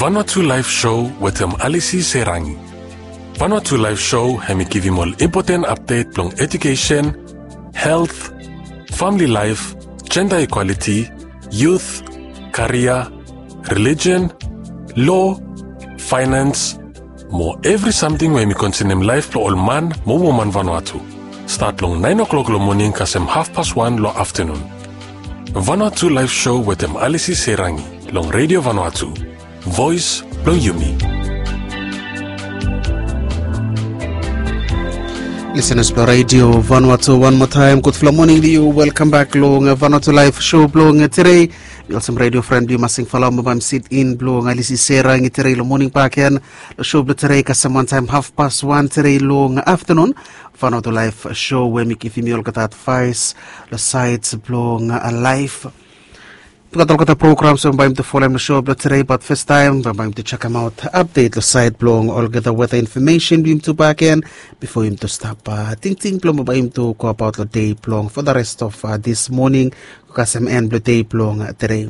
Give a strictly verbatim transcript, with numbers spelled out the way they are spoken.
Vanuatu Live Show wetem Alisi Serangi. Vanuatu Live Show hemi givim ol impoten apdet blong edukesen, helt, famili laef, jenda ikwaliti, yut, karia, relijen, lo, faenans, mo evri samting we hemi konsenem laef blong ol man mo woman Vanuatu. Stat long naen o'klok long moning kasem hafpas wan long aftenun. Vanuatu Live Show wetem Alisi Serangi long Redio Vanuatu, voes blong yumi. Lisenas blong Redio Vanuatu, wan moa taem gudfala moning long yu. Welkam bak long Vanuatu Live Show blong tere. Mi olsem redio fren blong yu Masing Falawa mo bae mi sit in blong Alisi Serangi tere long moning bakegen. Long show blong tere kasem wantaem hafpas wan tere long aftenun. Vanuatu Live Show we mi givim yu olgeta advaes long saed blong laef. Gat olgeta programs we bae yumi tu folem long show blong tere, bat fastaem bae yumi tu jekemaot apdet long saed blong olgeta weta infomesen blong yumi tu bakegen bifo yumi tu stap tingting blong bae yumi tu go abaot long dei blong for the rest of this morning go kasem en blong dei blong tere.